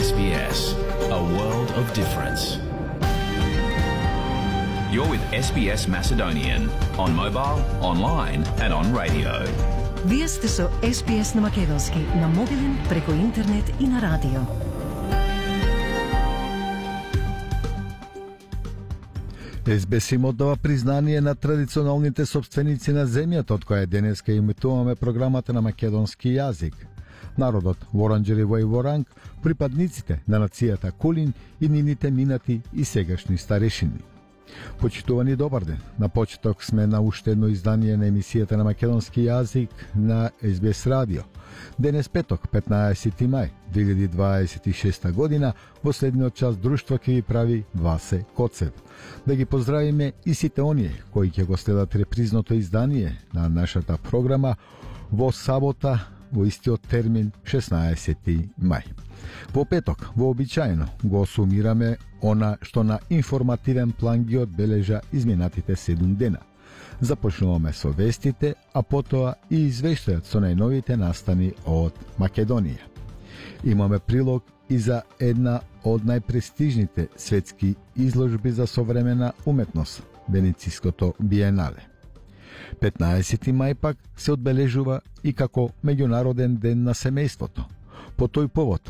SBS, a world of difference. You're with SBS Macedonian on mobile, online and on radio. Вие сте со SBS на македонски, на мобилен, преку интернет и на радио. SBS им оддава признание на традиционалните собственици на земјата, од која денеска имитуваме програмата на македонски јазик. Народот Воранџери Воранг, припадниците на нацијата Кулин и нивните минати и сегашни старешини. Почитувани, добар ден. На почеток сме на уште едно издание на емисијата на македонски јазик на SBS радио. Денес петок, 15 мај 2026 година, во следниот час друштво ќе ви прави Васе Коцев. Да ги поздравиме и сите оние кои ќе го следат репризното издание на нашата програма во сабота во истиот термин 16 мај. Во петок, вообичаено, го сумираме она што на информативен план ги одбележа изминатите 7 дена. Започнуваме со вестите, а потоа и извештајот со најновите настани од Македонија. Имаме прилог и за една од најпрестижните светски изложби за современа уметност, Венециското биенале. 15 мај пак се одбележува и како меѓународен ден на семејството. По тој повод,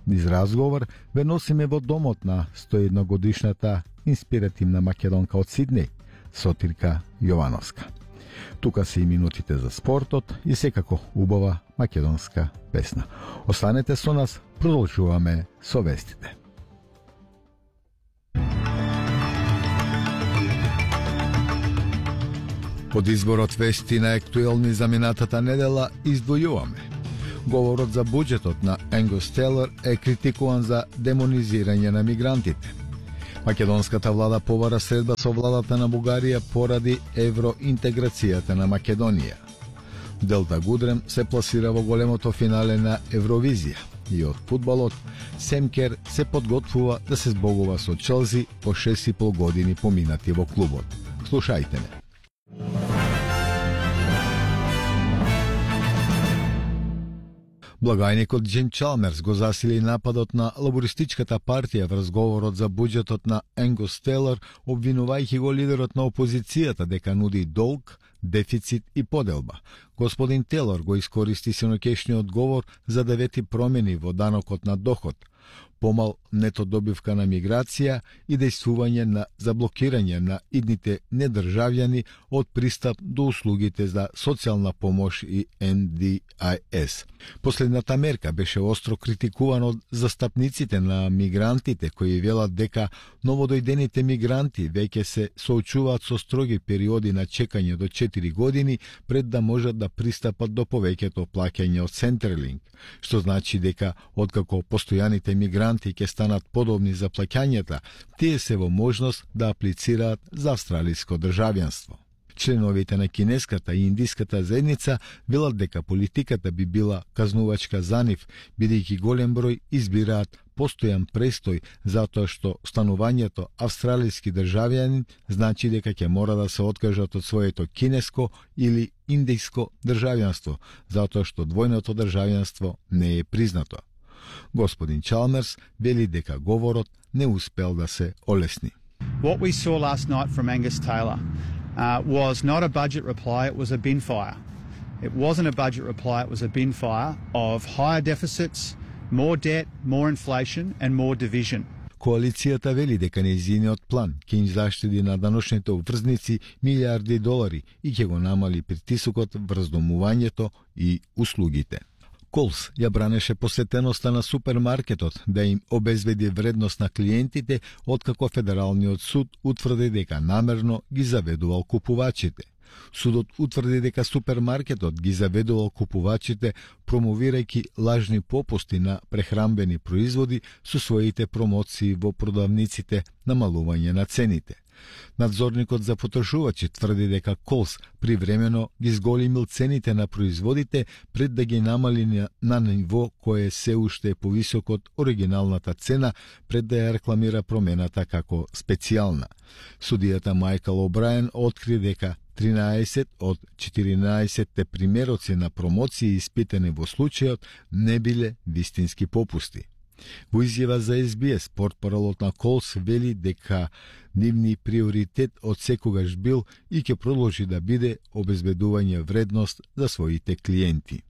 низ разговор ве носиме во домот на 101 годишната инспиративна македонка од Сиднеј, Сотирка Јовановска. Тука се и минутите за спортот и секако убава македонска песна. Останете со нас, продолжуваме со вестите. Од изборот вести на актуелни за минатата недела издвојуваме. Говорот за буџетот на Енгус Тейлор е критикуван за демонизирање на мигрантите. Македонската влада повара средба со владата на Бугарија поради евроинтеграцијата на Македонија. Делта Гудрем се пласира во големото финале на Евровизија и од фудбалот Семкер се подготвува да се збогува со Челси по 6,5 години поминати во клубот. Слушајте ме. Благајникот Џим Чалмерс го засили нападот на лабористичката партија врз говорот за буџетот на Енгус Тейлор, обвинувајќи го лидерот на опозицијата дека нуди долг, дефицит и поделба. Господин Тейлор го искористи синоќешниот говор за да вети промени во данокот на доход, помал нето добивка на миграција и дејствување на заблокирање на идните недржавјани од пристап до услугите за социјална помош и NDIS. Последната мерка беше остро критикувана од застапниците на мигрантите кои велат дека новодојдените мигранти веќе се соочуваат со строги периоди на чекање до 4 години пред да можат да пристапат до повеќето плаќање од Centrelink, што значи дека откако постојаните мигранти ќе станат подобни за плаќањата, тие се во можност да аплицираат за австралиско државјанство. Членовите на кинеската и индиската заедница велат дека политиката би била казнувачка за нив, бидејќи голем број избираат постојан престој затоа што станувањето австралиски државјанин значи дека ќе мора да се откажат од своето кинеско или индиско државјанство, затоа што двојното државјанство не е признато. Господин Чалмерс вели дека говорот не успел да се олесни. What we saw last night from Angus Taylor was not a budget reply, it was a bin fire. It wasn't a budget reply, it was a bin fire of higher deficits, more debt, more inflation and more division. Коалицијата вели дека нејзиниот план ќе им заштеди на даношните обврзници милиарди долари и ќе го намали притисокот врз домувањето и услугите. Колс ја бранеше посетеноста на супермаркетот да им обезбеди вредност на клиентите, откако Федералниот суд утврди дека намерно ги заведувал купувачите. Судот утврди дека супермаркетот ги заведувал купувачите, промовирајќи лажни попусти на прехранбени производи со своите промоции во продавниците, намалување на цените. Надзорникот за потрошувачи тврди дека Колс привремено ги зголемил цените на производите пред да ги намали на ниво кое се уште е повисоко од оригиналната цена пред да ја рекламира промената како специјална. Судијата Майкл О'Брајен откри дека 13 од 14 примероци на промоции испитани во случајот не биле вистински попусти. Во изјава за SBS, портпаролот на Колс вели дека нивни приоритет од секогаш бил и ќе продолжи да биде обезбедување вредност за своите клиенти.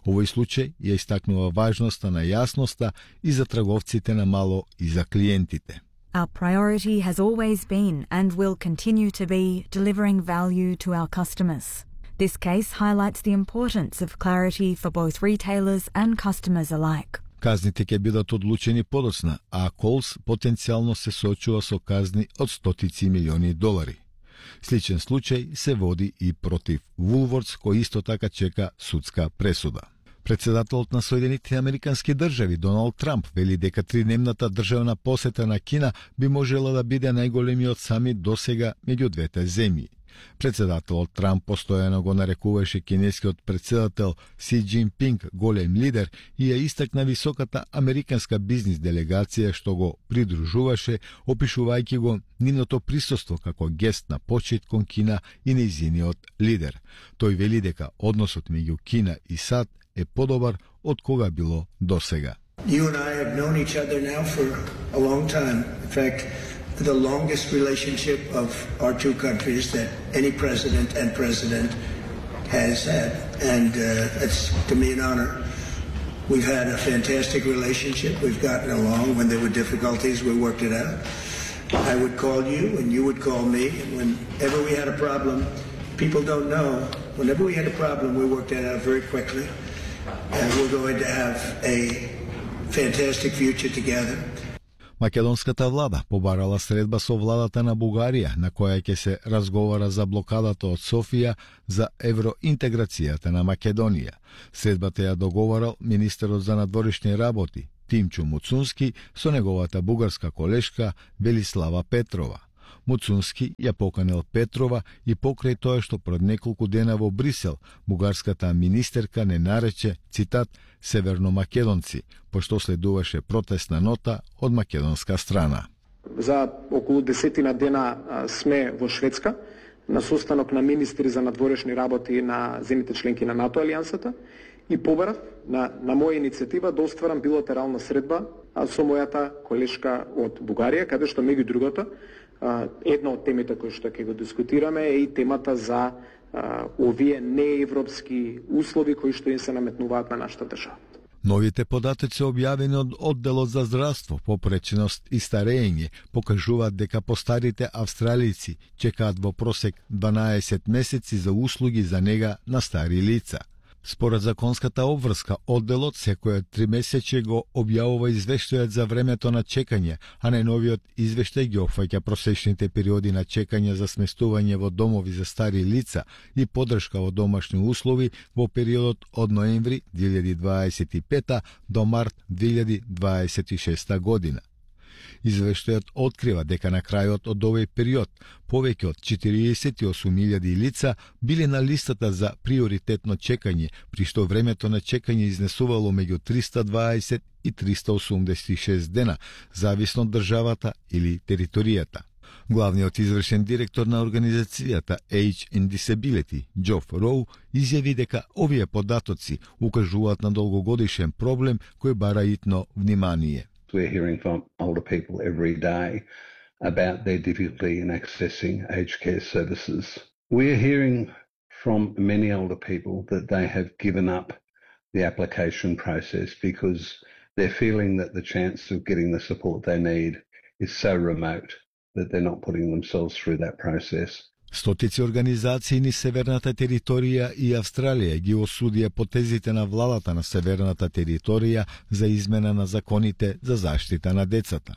Овој случај ја истакнува важноста на јасноста и за трговците на мало и за клиентите. Our priority has always been and will continue to be delivering value to our customers. This case highlights the importance of clarity for both retailers and customers alike. Казните ќе бидат одлучени подоцна, а Колс потенцијално се соочува со казни од стотици милиони долари. Сличен случај се води и против Woolworths, кој исто така чека судска пресуда. Председателот на Соединетите Американски држави Доналд Трамп вели дека тридневната државна посета на Кина би можела да биде најголемиот самит досега меѓу двете земји. Председателот Трамп постојано го нарекуваше кинескиот председател Си Џинпинг голем лидер и ја истакна високата американска бизнис делегација што го придружуваше, опишувајќи го нивното присуство како гест на почит кон Кина и нејзиниот лидер. Тој вели дека односот меѓу Кина и САД е подобар од кога било досега. You and I have known each other now for a long time. In fact, the longest relationship of our two countries that any president has had. And it's, to me, an honor. We've had a fantastic relationship. We've gotten along. When there were difficulties, we worked it out. I would call you and you would call me. And whenever we had a problem, people don't know, whenever we had a problem, we worked it out very quickly. And we're going to have a fantastic future together. Македонската влада побарала средба со владата на Бугарија, на која ќе се разговара за блокадата од Софија за евроинтеграцијата на Македонија. Средбата ја договарал министерот за надворешни работи Тимчо Муцунски со неговата бугарска колешка Велислава Петрова. Муцунски ја поканил Петрова и покрај тоа што пред неколку дена во Брисел бугарската министерка не нарече, цитат, северномакедонци, пошто следуваше протестна нота од македонска страна. За околу 10 дена сме во Шведска на состанок на министри за надворешни работи на земјите членки на НАТО алијансата и побарав на моја иницијатива да остварам билатерална средба со мојата колешка од Бугарија, каде што меѓу другото една од темите кои што ќе го дискутираме е и темата за овие неевропски услови кои што им се наметнуваат на нашата држава. Новите податоци објавени од одделот за здравство, попреченост и старење покажуваат дека постарите австралици чекаат во просек 12 месеци за услуги за нега на стари лица. Според законската обврска, одделот секој 3 месече го објавува извештајот за времето на чекање, а најновиот извештај ги опфаќа просечните периоди на чекање за сместување во домови за стари лица и поддршка во домашни услови во периодот од ноември 2025 до март 2026 година. Извештајот открива дека на крајот од овој период повеќе од 48.000 лица биле на листата за приоритетно чекање, при што времето на чекање изнесувало меѓу 320 и 386 дена, зависно од државата или територијата. Главниот извршен директор на организацијата Age and Disability, Джоф Роу, изјави дека овие податоци укажуваат на долгогодишен проблем кој бара итно внимание. We're hearing from older people every day about their difficulty in accessing aged care services. We're hearing from many older people that they have given up the application process because they're feeling that the chance of getting the support they need is so remote that they're not putting themselves through that process. Стотици организации низ северната територија и Австралија ги осудија потезите на владата на северната територија за измена на законите за заштита на децата.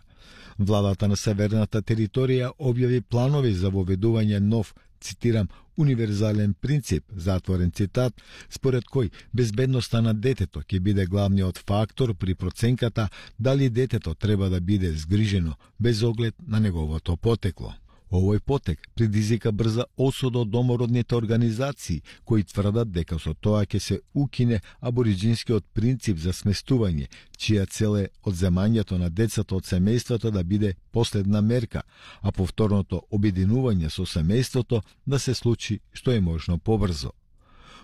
Владата на северната територија објави планови за воведување нов, цитирам, универзален принцип, затворен цитат, според кој безбедноста на детето ќе биде главниот фактор при проценката дали детето треба да биде згрижено без оглед на неговото потекло. Овој потек предизвика брза осуда од домородните организации, кои тврдат дека со тоа ќе се укине абориџинскиот принцип за сместување, чија цел е одземањето на децата од семејството да биде последна мерка, а повторното обединување со семејството да се случи што е можно побрзо.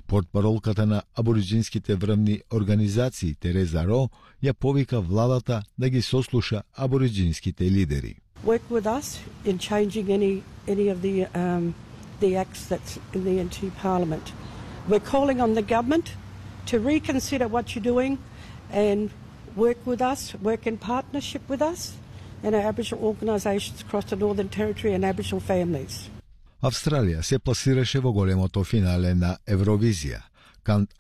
Портпаролката на абориджинските врвни организации Тереза Ро ја повика владата да ги сослуша абориджинските лидери. Work with us in changing any of the acts that's in the NT Parliament. We're calling on the government to reconsider what you're doing and work with us, work in partnership with us and our Aboriginal organisations across the Northern Territory and Aboriginal families. Австралија се пласираше во големото финале на Евровизија.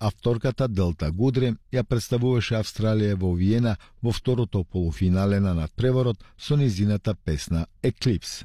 Авторката Делта Гудрем ја представуваше Австралија во Виена во второто полуфинале на надпреварот со низината песна Eclipse.